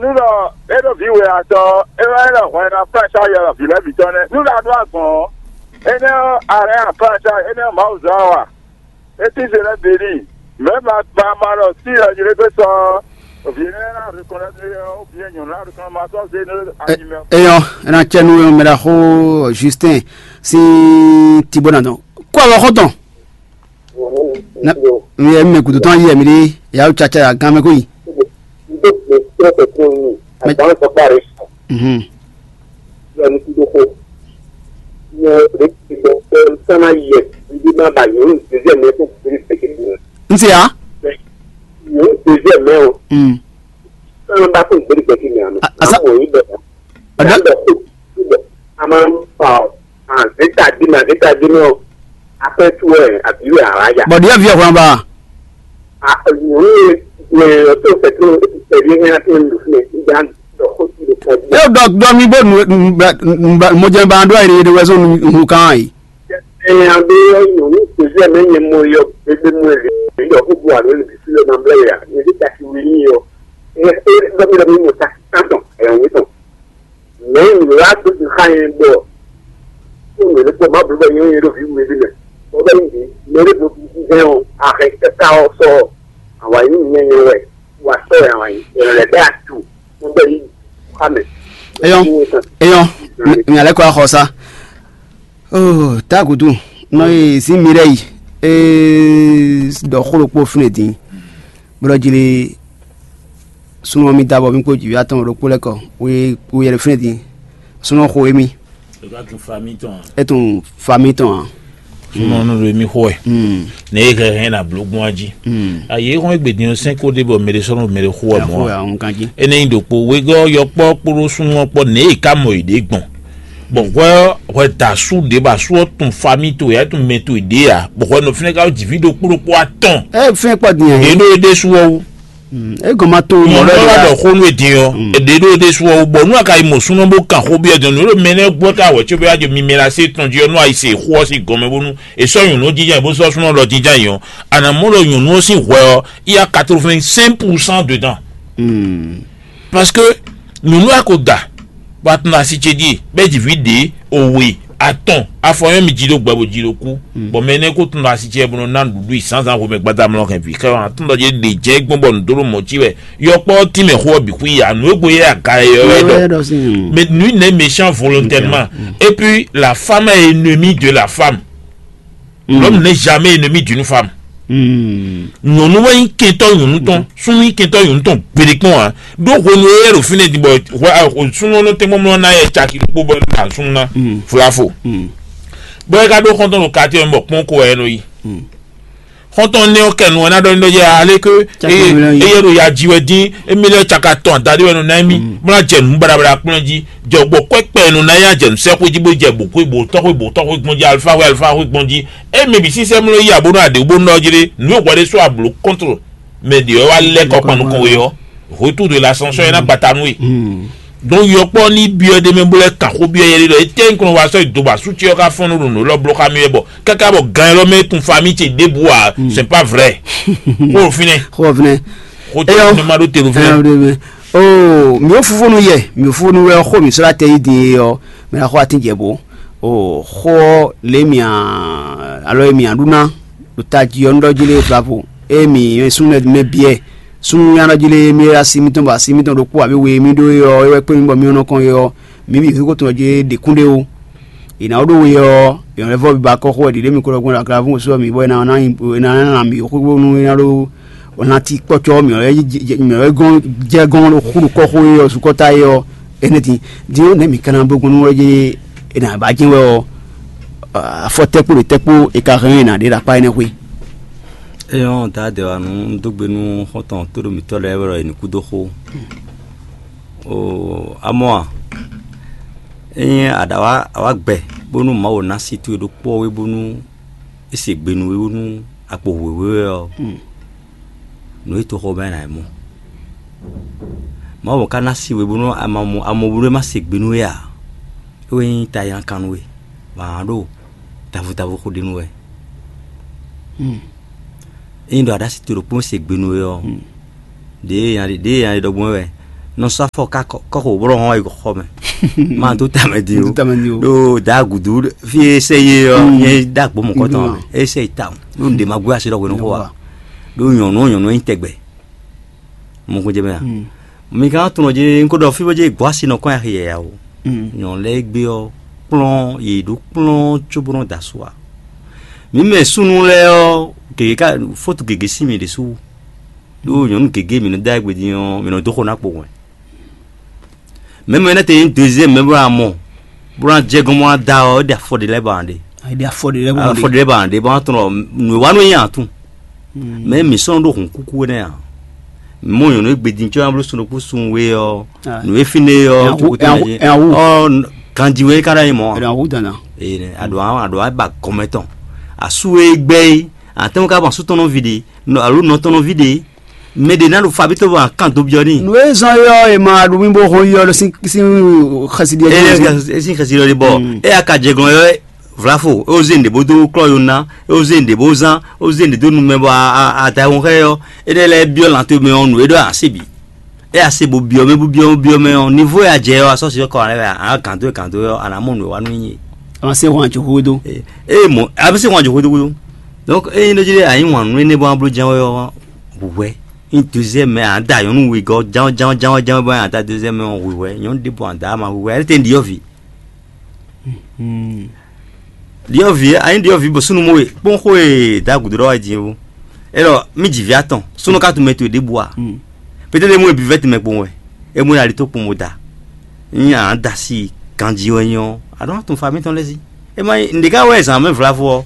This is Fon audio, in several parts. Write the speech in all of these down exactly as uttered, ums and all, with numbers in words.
Nú ɖɔ é ɖo vǐ we atɔ́, é wá é ɖɔ hwɛ ná kpá sá yɔ vǐ lɛ́ɛ bǐ tɔn nɛ́. Nú ɖa ɖó agbɔ̌n ɔ́, énɛ́ ɔ́, a lɛ́ akpá sá énɛ́ ɔ́, Mawu zɔ́n ɔ́ a? É tín se lɛ́ɛ bǐ n'i. Mɛ̌ ma ma ma ɖɔ sí ɔ́ ylé gbé sɔ ɔ́, vǐ énɛ́ ná reconnaître ɔ́, vǐ e nyɔ̌nu ná reconnaître ma sɔ́ zé nú ayi mɛ. Eyɔ, é ná cɛ nú mɛ ɖaxó Justin sín Tibó ná dɔn. Kó awɔ xɔ́ntɔn. Nɛ mi yɛ mi mɛ gǔdo tɔn yi yɛ mi ɖe, ya wú caca ya gán mɛ ko yi. N tó gbè kple kɛkɛ mi. Mɛ- Agbǎn sɔkpá rẹ sɔ. Mhm. Yɔ ní kúndó xó. Yɔ rẹ ti sɔ pé sɔnà yɛ. Ibi má ba yòó ní deuxième mɛ tó gbé kɛkɛ mi. N se ya. Yòó ní deuxième mɛ o. Mm. Sɔnà bá tó gbé kɛkɛ mi àná. A- asa- Amɔ yìí bɛ. Ada- Ada xó. Xó bɛ. A máa ń fa ọ. Àzétàdínà àzétàdínà. Afẹ́ tú ẹ̀ àbí wẹ̀ àwájà. Bɔ̀dí ẹ̀ fi ọ̀hún ba. Nyɔ̌nu e e ɔtɔ́ fɛ́tɔ́ tɛ̀lé hɛn atɔ́ ndu fún ɛ, nígbà dɔ̀kó ti lè pọ̀ díẹ̀. Yóò dɔ dɔ mi bó nu nu nu mɔjɛ ba dɔ ayé de wɛsɔn nu hun kan yi. Ɛ abe nyɔ̌nu tòzí ɛ mɛ nyɛ mɔ yɔ bébé mɔ ɛ lé, yɔ fún bu alo lè fi lè ma blɛ ya, yɛ di kasi wuli yɔ. Ɛ ɛ dɔ mi dɔ mi mɔ ta tantɔn ɛ wí tɔn. Mɛ nyɔ̌nu la dó ti xa yɛ bɔ fún mi lè pɔ ma blɛ bɔ nyɛ nyɛ ɖo vi wuli bi mɛ. Bɔ bɛ yi di mɛ lè bɔ hɛn o ahɛ kɛka ɔ sɔ awa yi nyɛ nyɛ wɛ. Wa sɔ ya wa yi. Ɛ lɛ bɛ atu. Mo bɛ yi xa mɛ. Eyɔn, eyɔn, mi alɛ kɔ axɔ sa. Oh, takutu, nɔ ye si mi ɖe yi. Ee, dɔ xo ɖokpo fún din. Bɔ dɔ jili sunɔ mi da bɔ mi kpo jivi atɔn ɖokpo lɛ kɔ. Wo ye wo yɛ fún din. Sunɔ xo emi. Eka tun fa mi tɔn. E tun fa mi tɔn. Sunɔ nu ɖo emi xo ɛ. Hmm. Ne e hɛhɛ na blo gbɔn aji. Hmm. Ayi e xɔn egbe din sɛn ko de bɔ mɛ de sɔnɔ mɛ de xo ɛ mɔ. Xo ɛ ahun kan ji. Ene nyi ɖokpo wegɔ́ yɔkpɔ kpódó súnnu ɔ́ kpɔ́ nɛ̌ è ká mɔ yě ɖe gbɔn. Bɔ hwɛ ɔ́, hwɛ da asú ɖě bɔ asú ɔ́ tun famí towe, é tun mɛ towe ɖě ǎ, bɔ hwɛ nɔ fínɛ́ ká wú jǐví ɖokpó ɖokpó atɔn. Ɛ fɛn kpɔ din Yě ɛ. Ɖó é ɖésú ɔ́ wú. É gɔn ma to mɔ Mɔ lɛ lɔ wá la. Ɖɔ xó nú é din ɔ́, é ɖě ɖó é ɖésú ɔ́ wú, bɔ nú a ka yi mɔ súnɔ bó kan xó byɔ́ din, nǔ ɖo mɛ nɛ́ gbɔ ká wɛ có bóyá jɔ mi mɛ la sé tɔn jí ɔ́, nú a yi se xó ɔ́ sín gɔmɛ bónú è sɔ́ nyɔ̌nu ɔ́ jínjɔ́n ayǐ bó sɔ́ súnɔ lɔ jínjɔ́n ayǐ ɔ́, a nǎ mɔ ɖɔ nyɔ̌nu ɔ́ sín hwɛ ɔ́, í yá quatre-vingt-cinq pour cent dedans. Parce que nyɔ̌nu a ko da, bɔ a tunɔ asi ce ɖíe, bɔ é ji vǐ ɖě, owe, atɔn, afɔ nyɔ́ mi jí ɖó gbɛ bó jí ɖó kú, bɔ mɛ énɛ́ ko tunɔ asi ce bó nɔ ná nǔɖuɖu i zǎnzǎn xomɛ gbadamlɔ hɛn vǐ xɛ ɔ́, a tunɔ ɖě ɖě jɛ gbɔn bɔ nǔ dó ɖo mɔ̌ cí wɛ, yɔkpɔ́ tínmɛ xó ɔ́ bǐ xwí ya, nǔ e gbo yɛ aga yɛ ɔ́ wɛ ɖɔ. Mais nǔ nɛ́ méchant volontairement. Et puis la femme est ennemie de la femme. L'homme n'est jamais ennemi d'une femme. Nyɔ̌nu wɛ nyí kɛntɔ́ nyɔ̌nu tɔn, súnnu nyí kɛntɔ́ nyɔ̌nu tɔn gbeɖé kpɔ́n ǎ. Ɖó hwenu e é ɖo fínɛ́ din bɔ súnnu ɔ́ nɔ tɛ́nkpɔ́n mlɔ́ ná yɛ caki ɖokpó bɔ é nɔ ɖa súnnu ná flafo. Bɔ é ka ɖó xɔ́ntɔn ɖo katí ɔ́ mɛ bɔ kpɔ́n ko wɛ é nɔ yi. Xɔ́ntɔn nɛ́ ɔ́ kɛ nu ɔ́ ná ɖɔ n'i ɖɔ jɛ ale ké eye ɖo ya ji wɛ dín, émí lɛ́ɛ caka tɔn adaɖé wɛ nɔ ná émí, bó ná jɛ nǔ baɖabaɖa kplɔ́n jí, jɔ gbɔ kwɛ́kpɛ nɔ ná ya jɛ nǔsɛ́xwé jí bó jɛ bǒ xwé bǒ tɔ́xwé bǒ tɔ́xwé gbɔn jí, alifáxwé alifáxwé gbɔn jí. Émí bǐ sísɛ́ mló yi abó nɔ aɖě bó nɔ jí ɖé, nǔ e hwɛ ɖé sɔ́ ablo kɔ́ntro mɛ ɖě ɔ́ wá lɛ́ kɔ kpan nukɔn we ɔ́, retour de l'ascenseur é ná gbata nú we. Donc yɔkpɔ́ ní byɔ́ ɖ'é mɛ bó lɛ́ kan xó byɔ́ yɛ ɖé ɖɔ étɛ́ nyí kɔn wá sɔ́ yi do bɔ asú ce ɔ́ ká fɔ́n nú ɖo nǔ élɔ́ bló xá mì wɛ bɔ káká bɔ gan élɔ́ mɛ tun fa mì ce ɖěbǔ ǎ, c'est pas vrai. Xó ɖo fínɛ́. Xó ɖo fínɛ́. Xó tɛ ne ma ɖó te ɖo fínɛ́. Ɛyɔ ɖe mɛ. Oo, mì ó fúfúnu yɛ, mì ó fúfúnu wɛ xó mì sɔ́ ɖo atɛ yí din e ɔ́, mɛ ná xó atín jɛ bó. Oo, xó ɔ́ lě mì a alɔ e mì a ɖu ná ɖo tají ɔ́ nú ɖɔ jí lé vlavo. E mì súnnu mɛ biɛ súnnu nyá ɖɔ jí lé mì asi mítɔn bɔ asi mítɔn ɖokpó abǐ we mì ɖó é ɔ́, é wɛ kpé mì bɔ mì nɔ kɔn é ɔ́, mǐ bǐ xwé ko tɔn jí ɖě kún ɖé ó. È nǎ ɖó we ɔ́, è nɔ lɛ́ vɔ́ biba kɔ́ xó wɛ ɖiɖě mi ko ɖɔ gbɔn ɖo aglabú sɔ́ mǐ bɔ è nǎ ná mǐ xwé bónú é ná ɖó lan ti kpɔ́cɔ́ mǐ wɛ gɔ́n jɛ gɔ́n ɖo xó ɖo kɔ́ xó é ɔ́ sukɔ́ta é ɔ́, énɛ́ din. Din ɔ́, nɛ̌ mǐ ka ná bló gbɔn nú wɛ é nǎ ba jɛ́n wɛ ɔ́, afɔ tɛ́ kpó ɖo tɛ́ kpó è ka hɛn ɔ́, è nǎ ɖe ɖo akpá énɛ́ xwé. É nyɔ́ dadɛwanu un dó gbe nú xɔ́ntɔn tóɖomǐtɔ́ lɛ́ɛ wɛ ɖɔ è nǐ kú dó xó. Oo, amɔ̌ a? Ényí a ɖǎ wá a wá gbɛ bónú Mawu ná sí towe ɖokpó ɔ́ wé bónú é se gbe nú we bónú a kpo hwěhwé wɛ ɔ́, nǔ e toxo mɛ ná yi mɔ. Mawu ka ná sí we bónú a ma mɔ a mɔ bónú é má se gbe nú we ǎ. É wɛ nyí tayilankan nú we, bɔ a nǎ ɖo tavutávu xó ɖe nú wɛ. Ényí ɖɔ a ɖo asi towe ɖokpó se gbe nú we ɔ́, ɖěe nya ɖe ɖɔgbɔn wɛ wɛ, Nɔ sɔ́ afɔ kɔ́xo bó nɔ hɔn yi xɔ mɛ. Ma dó tamɛ di o. Dó tamɛ di o. Ɖo da gudu fi e sɛ ye ɔ, nyɛ da gbo mɔ kɔtɔn. E sɛ yi ta o. Ɖo nde ma gbé asi ɖɔ hwenu xɔ wa. Ɖo nyɔnu nyɔnu nyi tɛgbɛ. Mɔ ko jɛ mɛ a? Mi ka tunɔ je n ko ɖɔ fi bɔ je gbɔ asi nɔ kɔn axi yɛ ya o. Nyɔnu lɛ gbe ɔ kplɔn ye ɖo kplɔn tso bó nɔ da su a. Mi mɛ sunu lɛ ɔ, gege ka fotu gege si mi ɖe su. Ɖo nyɔnu gege mi nɔ da egbe din ɔ, mi nɔ dó xo na kpo wɛn. Mɛ mɛ ne te nyí deuxième mɛ bó na mɔ, bó na jɛ gɔn bó na da ɔ, é ɖe afɔ ɖe lɛ́ɛ ba ɖe. Ɛdi afɔ ɖe lɛ́ɛ bɔ afɔ ɖe lɛ́ɛ ba ɖe bó na tɔn nǔ wa nɔ nyi atún. Mɛ mi sɔn ɖo hun kuku nɛ a? Mɔ nyɔnu egbe din tsɔ na bló sun ɖokpó sun we ɔ, nǔ e fine ɔ, ɔ ganji we ka ɖa nyi mɔ. Ɛdi awu dana. Ee, aɖo aɖo aba gɔmɛ tɔn. Asu e gbɛ yi, atɛnwo ka bɔ asu tɔn nɔ vi ɖe, alo nɔ tɔn nɔ vi ɖe. Mɛ ɖě ná ɖo fabítɔ́ bɔ akan dó byɔ́ n'i. Nǔ e zɔn é ɔ́, è ma ɖo mì bó hɔn yi ɔ́ ɖo sín sín xɛsi ɖiɛ jí. Eye sín xɛsi ɖɔ ɖi bɔ eye aka jɛ glɔn yɔ vlafo, é wó zé nǔɖé bó dó klɔ́ yo ná, é wó zé nǔɖé bó zán, é wó zé nǔɖé dó nu mɛ bɔ adahun xɛ ɔ́, énɛ́ lɛ́ɛ byɔ́ lan towe mɛ ɔ́, nǔ e ɖɔ a se bǐ. É a se bó byɔ́ mɛ bó byɔ́ byɔ́ mɛ ɔ́, nivo e a jɛ ɔ́, a sɔ́ si ɔ́ kɔ ǎ lɛ́ɛ a gǎn dó e gǎn dó ɔ́, a nǎ mɔ nǔ e wa nú nyi. A ma se hɔn ajɔxó dó. Eye mɔ a bɛ se hɔn ajɔxó dó gúdo. Donc eye nɔ jí ɖe a nyí wǎn nú énɛ́ bɔ a bló jɛ́n wɛ ɔ́, hwɛ. Ní deuxième mɛ a da nyɔ̌nu wegɔ́ ján ján ján ján bɔ a da deuxième mɛ ɔ́ hwihwɛ, nyɔ̌nu ɖěbǔ a da ama hwihwɛ, ɛ́ tɛ́ ɖiɔ́vǐ. Ɖiɔ́vǐ a nyí ɖiɔ́vǐ bɔ súnnu mɔ we kpɔ́n xó e da gǔdo ɖɔ wá din ó. Élɔ́ mí ji vǐ atɔn súnnu ka tunmɛ towe ɖěbǔ a? Pétɛ́ ɖé mɔ e bǐ vɛ́ tɛnmɛ kpowun wɛ, é mɔ e ali tó kpowun bó da. Nyí a da si ganjí wɛ nyí ɔ́, a ɖɔ́ tun fa mítɔn lɛ́ɛ sí. É má nyí nǔɖé ká wɛ zǎn mɛ vlavo ɔ́.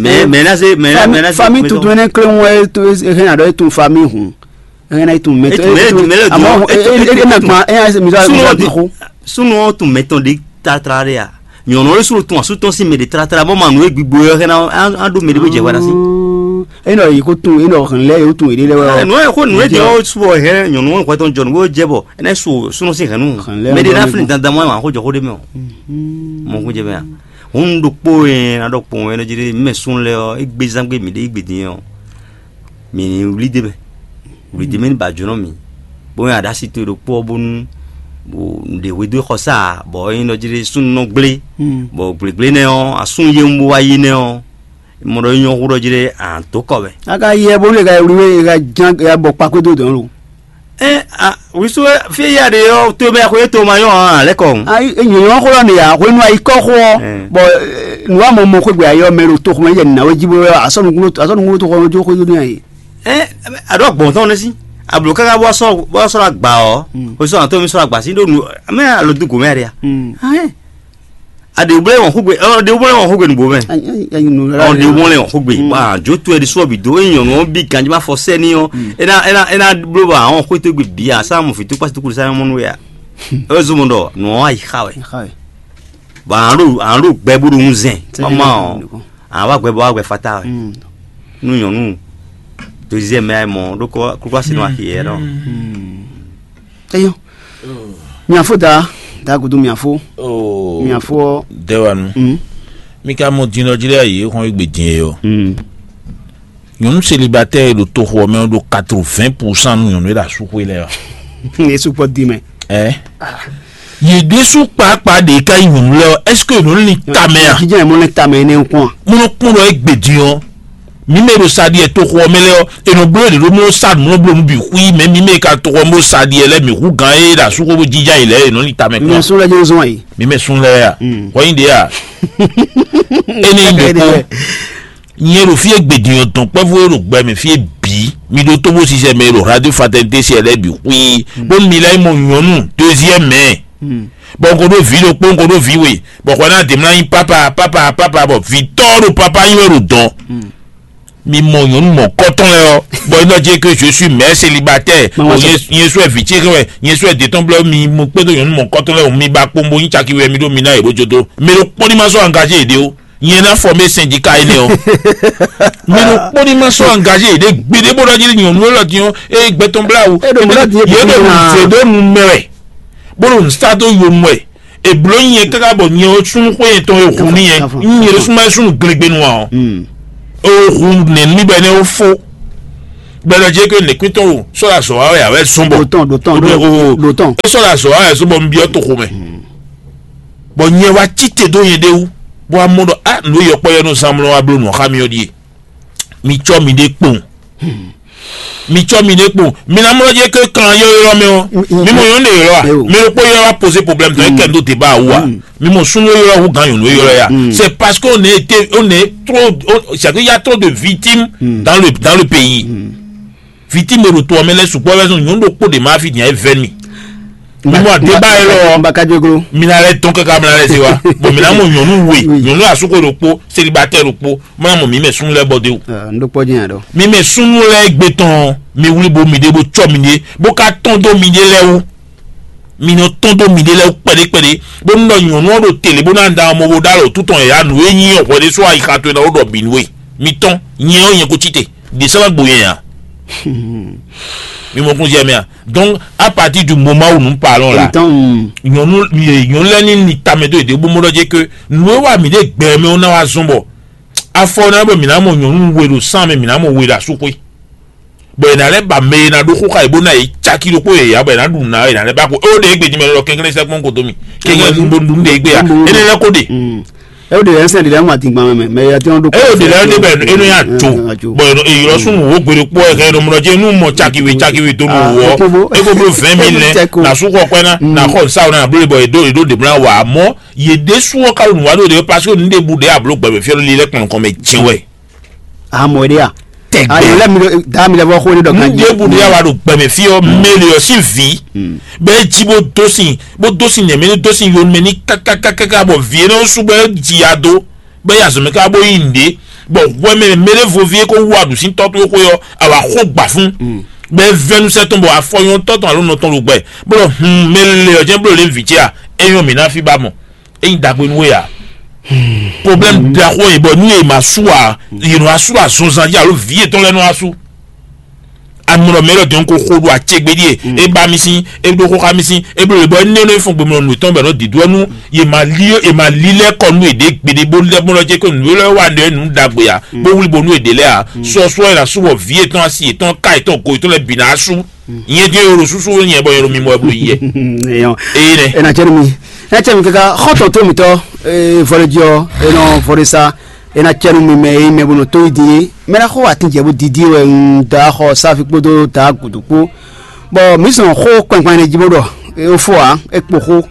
Mɛ mɛ ná se mɛ ná mɛ ná se fami tuntun ɛnɛ kle ŋu ɛ hɛn aɖɔ e tun fami hun. Hɛn na e tun mɛ tɔn e tun mɛ lɛ amɔ e na gban e ya se mi sɔ mi sɔ ti xo. Súnnu ɔ́ tun mɛ tɔn ɖé tlátla ɖé a? Nyɔ̌nu ɔ́ ɖésú tun asú tɔn sín mɛ ɖě tlátla bɔ ma nǔ e gbigbo ɔ́ hɛn ná ɖó mɛ ɖé bó jɛ hwɛ ná sí. Enɔ yi ko tun enɔ hɛn lɛ yóò tun èɖé lɛ wɛ. Nǔ ɛ xó nǔ e jɛ ɔ́ subɔ hɛn nyɔ̌nu ɔ́ hwɛ tɔn jɔ nǔ bó jɛ bɔ é ná so súnnu sín hɛn nú mɛ ɖé ná flin dandan mɔ ɛ wǎn xó jɔ xó ɖé mɛ o. Mɔ xó jɛ mɛ a? Hun ɖokpó e ná ɖɔ kpɔn ɛ nɔ jí ɖé mɛ sún lɛ ɔ́, é gbé zán gbé mǐ ɖé é gbé din ɔ́. Mǐ ní wlí d'é mɛ, wlí d'é mɛ ní ba jǒnɔ mǐ, bó nyi aɖasi towe ɖokpó ɔ́ bónú nǔɖé hwedó xɔsá ǎ, bɔ é nyí ɖɔ jí ɖé súnnu nɔ gblé, bɔ gblěgblé nɛ́ ɔ́, asún yé un bó wá yí nɛ́ ɔ́, mɔ ɖɔ é nyɔ́ hú ɖɔ jí ɖé ǎ dó kɔ mɛ. A ka yɛ bónú e ka wlí wé e ka ján e ka bɔ kpakpé dó dɔ̌n lo. Ɛ a wísú fí ya ɖe ɔ́, to mɛ xwé to ma nyɔ́ ǎ lɛ́ kɔ. Ayi e nyɔ̌nyɔ́ xó lɔ nìyà hwenu ayi kɔ xó ɔ́, bɔ nǔ wa mɔ mɔ xwé gbɛ ayɔ mɛ ɖo toxo mɛ yɛ nìnà wé jí bó asɔnukúnú asɔnukúnú toxo ɔ́ jó xwé dó n'i. Ɛ a ɖɔ gbɔn tɔn ne sí ablo kaka bɔ sɔ bɔ sɔ agba ɔ o sɔ atɔ mi sɔ agba sí ɖo nu mɛ alo du gomɛ ya ɖe ya. Aɖe wblɛ wɔn xogbe ɔ ɖe wblɛ wɔn xogbe nugbo mɛ. Ɔ ɖe wblɛ wɔn xogbe ba jo to ɛdi sɔ bi do eyi nyɔnu ɔ bi ganji ma fɔ sɛ ni ɔ ena ena ena blo ba wɔn xo to gbe bi a sa mo fi to kpasi to kulu sa mɔ nu ya. E zo mo ɖɔ nu ɔ ayi xa wɛ. Ba an ɖo an ɖo gbɛ bo ɖo ŋu zɛn. Mama ɔ an wa gbɛ bɔ wa gbɛ fata wɛ. Nu nyɔnu deuxième mɛ mɔ ɖo kɔ kukla si nɔ axi yɛ nɔ. Eyo. Miafo da da gudu miafo. Miafo. Dewanu. Mi ka mɔ din lɔ jí lɛ yi xɔn egbe din yɛ yɔ. Nyɔnu célibataire ɖo toxo mɛ ɖo quatre-vingts pour cent nu nyɔnu ɖo asúxwe lɛ ɔ. Yesu kpɔ di mɛ. Ɛ. Yě ɖésú kpakpa ɖe ka yi nyɔnu lɛ ɔ, est-ce que nɔ li tamɛ a? Jíjɛ mɔ lɛ tamɛ ne kɔn. Mo nɔ kpɔn ɖɔ egbe din ɔ. Mi mɛ ɖo sa ɖiɛ toxo ɔmɛ lɛ ɔ, enɔ gblɔ ɖe ɖo mɔ sa mɔ blɔ nu bi xui mɛ mi mɛ ka toxo mɔ sa ɖiɛ lɛ mi hu gan e ɖo asúxo bó jíjá yi lɛ enɔ li tamɛ kɔn. Mi mɛ sún lɛ jɛ zɔn yi. Mi mɛ sún lɛ ya. Kɔnyi ɖe ya. Ene yi ɖe kpɔn. Nyɛ ɖo fí e gbedin ɔ́ dɔn kpɛ́vú e ɖo gbɛ mɛ fí e bǐ mi ɖó tó bó sisɛ mɛ e ɖo radio fraternité siɛ lɛ́ɛ bǐ xwí bónú mi lɛ́ yi mɔ nyɔ̌nu deuxième mɛ bɔ n ko ɖó vǐ ɖokpó n ko ɖó vǐ we bɔ xɔ ná dě mlá nyí papa papa papa bɔ vǐtɔ́ ɖo papa nyí wɛ ɖo dɔn mi mɔ nyɔ̌nu mɔ̌kɔtɔn lɛ́ɛ ɔ́ bɔ é nɔ jẹ́ que je suis mère célibataire bɔ nyɛ sɔ́ vǐ ce wɛ nyɛ sɔ́ dě tɔn blɛ́ mi mo kpédó nyɔ̌nu mɔ̌kɔtɔn lɛ́ɛ mi ba kpombo nyí caki wɛ mi ɖó mi ná yě ɖó jodo mi ɖo kpɔ́n ní ma sɔ́ engagé yě ɖé ó. Nyɛ ná fɔ mɛ sɛn jí ka énɛ́ ɔ́. Mi ɖo kpɔ́ ní ma sɔ́ engagé ɖé gbeɖé bó ɖɔ jí nyɔ̌nu élɔ́ din ɔ́, ée gbɛtɔn blá wú. Yě ɖo nǔ zě ɖó nǔ mɛ wɛ, bó ɖo nǔ sá dó yonu wɛ. È blǒ nyɛ káká bɔ nyɛ ɔ́ súnnu xwé yɛtɔn e hun n'i nyɛ. Nyɛ ɖo súnmọ́ súnnu glegbenu ǎ ɔ́. O hun nɛ̌ nú mì bɔ énɛ́ ó fó. Gbɛdɔ jɛ ke nɛkúntɔn o sɔ́ ɖo azɔ̌ wa wɛ a wɛ zɔn bɔ ɖo tɔn ɖo tɔn ɖo ɖo tɔn. É sɔ́ ɖo azɔ̌ wa wɛ zɔn bɔ un byɔ́ toxo mɛ. Bɔ nyɛ wá cí te dó nyɛ ɖé wú, bó wá mɔ ɖɔ a nǔ e yɔkpɔ́ yɔ nɔ zán mlɔ wá bló nǔ xá mì ɔ́ ɖíe. Mi cɔ́ miɖée kpowun. Mi cɔ́ miɖée kpowun. Mi ná mlɔ́ jɛ ke kan yɔ́yɔ́ mɛ ɔ́. Mi mɔ nyɔ̌nu ɖe ylɔ́ a? Mi ɖokpó ylɔ́ wá poser problème tɔn é kɛ ɖó débat wú a? Mi mɔ súnnu ylɔ́ hú gán nyɔ̌nu ylɔ́ ya. C'est parce qu'on est été on est trop, c'est-à-dire il y a trop de victimes dans le dans le pays. Victime ɖo to ɔ́ mɛ lɛ́ɛ sukpɔ́ wɛ zɔn nyɔ̌nu ɖokpó ɖe ma fi nya é vɛ́ mi. Mi mɔ débat yɛ lɔ. Mbakadjoglo. Mi na lɛ tɔn kaka mi na lɛ se wa. Bon, mi na mɔ nyɔ̌nu we, nyɔ̌nu asúkò ɖokpó, célibataire ɖokpó, mi na mɔ mi mɛ súnnu lɛ́ɛ bɔ de o. N ɖokpó jẹ́ yàn dɔ. Mi mɛ súnnu lɛ́ɛ gbé tɔn, mi wlí bo mi ɖe bo cɔ mi ɖe, bo ka tɔn dó mi ɖe lɛ́ɛ wú. Mi nɔ tɔn dó mi ɖe lɛ́ɛ wú kpɛɖé kpɛɖé, bó nɔ nyɔ̌nu ɔ́ ɖo tele bó ná da ọmọ bo ɖó alɔ tútɔn yě ya nǔ e nyí hwɛ ɖésú ayixa towe ná wó ɖɔ bǐ nú we. Mi tɔn, nyɛ ɔ́ nyɛ ko cí te, ɖě sɔ́ ná gbo nyɛ ǎ. Mi mɔ kún jɛ mɛ a? Donc à partir du moment où nous parlons là, nyɔnu nyɔnu lɛ ni ni tamɛ dó yěɖée bó mɔ ɖɔ jɛ ke nǔ e wa mǐ ɖe gbɛ mɛ ɔ́ ná wá zɔn bɔ afɔ ná bɔ mǐ ná mɔ nyɔnu we ɖo sán mɛ, mǐ ná mɔ we ɖo asúxwé, bɔ è nǎ lɛ́ ba mɛ e ná ɖó xó xá yě bó ná yě cáki ɖokpó yě ya bɔ è nǎ ɖu nǔ ná é nǎ lɛ́ ba ko é ó ɖe égbé jí mɛ lɔ kɛnklɛ́n sɛkpɔn ko dó mi kɛnklɛ́n bó ɖu nú ɖe égbé ya énɛ́ lɛ́ ko ɖe. Ɛ o de lɛ sɛn de lɛ ŋun ati gban mɛ mɛ ya tiɲɔ do. Eye o de lɛ ne bɛ enu ya tso bɔn eye lɔ sun wo gbere kpɔ ɛ kɛ ɖo mlɔ jɛ nu mɔ cakiwe cakiwe do nu wɔ eko blo vingt mille nɛ na su kɔ kpɛ na na xɔ nsawo na blo bɔ edo edo de bla wa mɔ ye de su wɔ kalu nu wa do de parce que nu de bu de ablo gbɛmɛ fiɛ li lɛ kpɔn kɔmɛ jɛn wɛ. Amɔ de ya tɛgbɛ ayi lɛ mi da mi lɛ bɔ xo ne dɔ kan nu de bu de ya wa do gbɛmɛ fiɛ mele ɔ si vi bɛ ji bo do sin bo do sin nɛmɛ ni do sin yonumɛ ni kakakakaka bɔ vi yɛ ne wo su bɛ ji ya do bɛ ya zɔn mɛ ká bó yí nǔɖé, bɔ hwɛ mɛ mɛ ɖé voví é kó wú aɖǔsíntɔ́ towe xwé ɔ́, a wǎ xó gbǎ fún, bɔ é vɛ́ nú sɛ́ tɔn bɔ afɔ nyɔ́ tɔ́ tɔn alo nɔ tɔn ɖo gbɛ, bó ɖɔ hun mɛ lɛ ɔ́ jɛ́n bló lě vǐ ce a? É nyɔ́ mǐ ná fí ba mɔ, é nyí ɖagbe nú we a? Problème ɖaxó e bɔ nú e ma sú a, yě nɔ wá sú ɖo azɔnzan jí alo vǐ yětɔn lɛ́ɛ nɔ wá sú. Amlɔ mɛ lɔ dɔn ko xo ɖo acɛgbé ɖie e ba mi sín e ɖo xó xá mi sín e bló lě bɔ énɛ́ nɔ fɔn gbemlɔ nǔ tɔn bɛ nɔ dǐdú ɔ́ nú ye ma lí ye ma lí lɛ́ kɔ nú yěɖée gbeɖé bó lɛ́ bó nɔ jɛ ko nǔ lɛ́ wa ɖɔ nǔ ɖagbe a bó wlí bo nú yěɖée lɛ́ɛ a sɔ sɔ e na sú bɔ vǐ yětɔn asi yětɔn ká yětɔn go yětɔn lɛ́ɛ bǐ ná sú nyɛ dé yoro súsú nyɛ bɔ yoro mi mɔ ɛ bló yi yɛ. Eyɔn eye nɛ ena cɛ mi ena cɛ mi kaka xɔtɔ tó mi tɔ vɔlɛ jɔ enɔ vɔlɛ sa ena cɛ nu mi mɛ e mɛ bɔ nɔ tó yi di mɛ na xɔ atin jɛ bó didi wɛ un da xɔ safi kpódó da gudu kpó. Bɔ mǐ zɔn xó kpɛnkpɛn ɖé jí bó ɖɔ é fó ǎ é kpo xó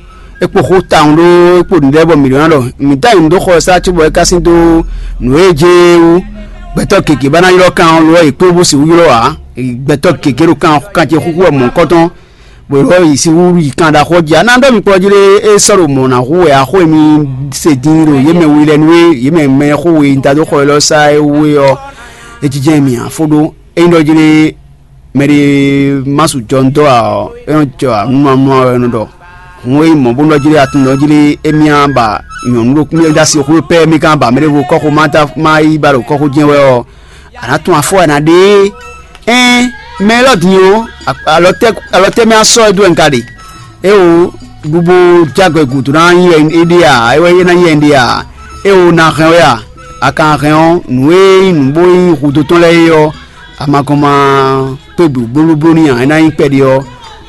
é kpo xó tawun ɖó é kpo nǔɖé bɔ mǐ ɖó ná ɖɔ mǐ dó anyǔ dó xɔ ɛ sá cóbɔ é ká sín dó nǔ e jɛ é wú. Gbɛtɔ́ gěgé ba ná ylɔ́ kan ɔ́ lo ɔ́ è kpé bó sixú ylɔ́ ǎ. Gbɛtɔ́ gěgé ɖo kan kan ce xúxú wɛ mɔ̌hunkɔtɔn bɔ è lɔ́ yi sixú yi kan ɖaxó jí ǎ. Ná ɖɔ mi kplɔ́ jí ɖé é sɔ́ ɖo mɔ̌ ná hu wɛ axó e mi se din ɖo yě mɛ wi lɛ́ɛ nú é yě mɛ mɛ xó we da dó xɔ élɔ́ sá é wú é ɔ́, é jínjɛ́n mì ǎ fó ɖó. Ényí ɖɔ jí ɖé mɛɖé má su jɔ nú dɔ́ ǎ ɔ́, é nɔ jɔ ǎ nú mamlá ɔ́ é nɔ ɖɔ. Hǔn é nyí mɔ̌ bó nɔ jí ɖé atún nɔ jí ɖé émí á ba nyɔ̌nu ɖokpó mì dó asi xwé pɛ́ mì ka ba mɛ ɖěvo kɔ́xo má dó má yi ba ɖo kɔ́xo jɛ́n wɛ ɔ́, a nǎ tunwun afɔ wɛ a nǎ ɖe é. Ɛ́n mɛ élɔ́ din ɔ́, alɔ tɛ́ mɛ á sɔ́ ɛ dó wɛ un ka ɖe? Éwo ɖubo jágbe gǔdo ná nyí wɛ é ɖe a? É wɛ é ná nyí wɛ un ɖe a? Éwo ná hɛn wɛ a? A ka hɛn ɔ́, nǔ e nyí nǔ bó nyí hudó tɔn lɛ́ɛ é ɔ́, a ma gɔn ma kpé blǒblóbló n'i ǎ, é ná nyí kpɛɖé ɔ́,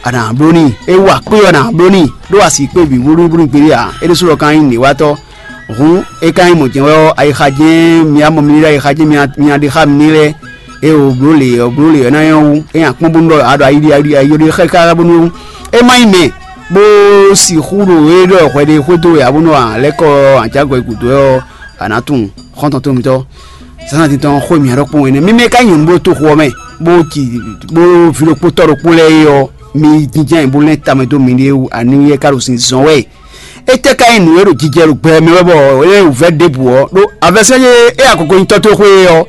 a nǎ bló n'i. É wa kpé ɔ́, a nǎ bló n'i, ɖó a sixú kpé bǐ blóblóbló gbeɖé ǎ. É ɖésú lɔ ka nyí nǔɖéwatɔ́. Hǔn, é ka nyí mɔ̌ jɛ́n wɛ ɔ́, ayixa jɛ́n mi wá mɔ mi ɖo ayixa jɛ́n mi nya ɖe xá mi lɛ́ɛ. É o bló lě ɔ́, bló lě ɔ́ ná nyɔ́ wú. É nyi akpɔ́n bónú ɖɔ a ɖo ayi ɖi ayi ɖi ayi ɖi xɛ́ káká bónú é má nyí mɛ bó sixú ɖo é ɖɔ hwɛ ɖé xwedó wɛ ǎ bónú a lɛ́ kɔ anjǎgɔ̌ gǔdo ɔ́, a nǎ tunwun xɔ́ntɔn tɔn mitɔ́. Zǎnzǎn tɔn xó mǐ ɖɔkpɔ́n ɛnɛ. Mi mɛ ka nyɔ̌nu bó to xo ɔ́ mɛ, bó ji bó ví ɖokpótɔ́ ɖokpó lɛ́ɛ é ɔ́, mi jínjɔ́n ayǐ bó lɛ́n tamɛ dó miɖée wú aniwúyɛ́ ka ɖo sin zɔn wɛ. Étɛ́ ka nyí nǔ e ɖo jijɛ ɖo gbɛ mɛ wɛ bɔ é nyí wǔvɛ́ ɖěbǔ ɔ́, ɖó avɛsɛ́ e é akoko nyi tɔ́ towe xwé é ɔ́,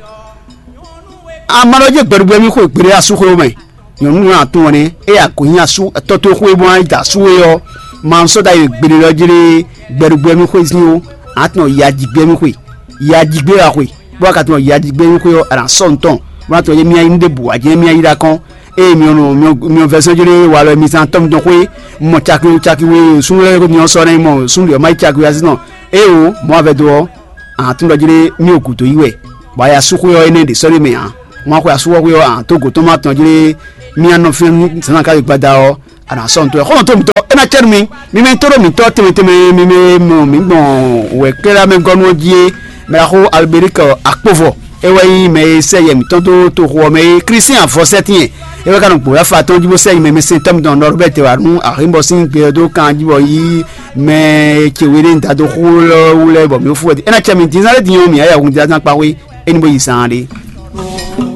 a ma ɖɔ jɛ́n gbɛɖugbɛ mì xwe gbeɖé asúxwé mɛ. Nyɔ̌nu nɔ atún ɔ́ nɛ́, é ya gǒ nyi asú tɔ́ towe xwé bó ná yi da asú é ɔ́, ma sɔ́ ɖ'ayǐ gbeɖé ɔ́ jí lé gbɛɖugbɛ mì xwé zín ó, a tunɔ yi ajigbɛ mì xwe, yi ajigbɛ wá xwe, bó wá ka tunɔ yi ajigbɛ mì xwé ɔ́, a nǎ sɔ́ nǔ tɔn, bó ná tunɔ yé mì ayí nú ɖěbǔ ǎ jɛ́n mì ayí ɖo akɔ́n. Ée mi ɔ́ nɔ mi ɔ́ vɛ́ sɔ́ jlé walɔ mi zán tɔ́ mitɔn xwé, un mɔ caki caki we súnnu lɛ́ɛ mi ɔ́ sɔ́ ná yi mɔ súnnu ɖě ɔ́ má yi caki we así tɔn. Ée o, mɔ̌ a vɛ́ dó ɔ́, a nǎ tunwun ɖɔ jlé mì o gǔdo yí wɛ, bɔ a yi asúxwé ɔ́ énɛ́ ɖě sɔ́ ɖ'é mɛ ǎ. Wọ́n á xwe asúwɔ́xwé ɔ́, àn tó gǒ tɔn má tɔn jlé mì á nɔ fínɛ́ nú zǎnzǎn ká yi gbada ɔ́, a nǎ sɔ́ nǔ tɔn. Xɔ́ntɔn tó mǐtɔn, é ná cɛ nú mi. Mi mɛ tó ɖo mǐtɔn tɛnmɛ tɛnmɛ, mi mɛ mɔ mǐ gbɔn wɛ kɛ́ɖámɛgɔ́nú ɔ́ jí é, mɛ ɖaxó Alberic Akpovɔ, é wɛ nyí mɛ e sɛ yɛ mǐtɔn dó toxo ɔ́ mɛ é. Klísián Vɔsɛ́tín, é wɛ ka nɔ gbǒ afa tɔn jí bó sɛ nyi mɛ mɛsɛntɔ́ mitɔn Nɔrbɛ́t wǎ nú Axínbɔ sín gbe ɔ́ dó kan jí bɔ yí mɛ ce we ɖé un da dó xó lɔ wú lɛ́ɛ bɔ mǐ fú wɛ. É ná cɛ mi din zán lé din ɔ́, mǐ á yɛ hun din zán kpa xwé, é ní bó yi zaan ɖé.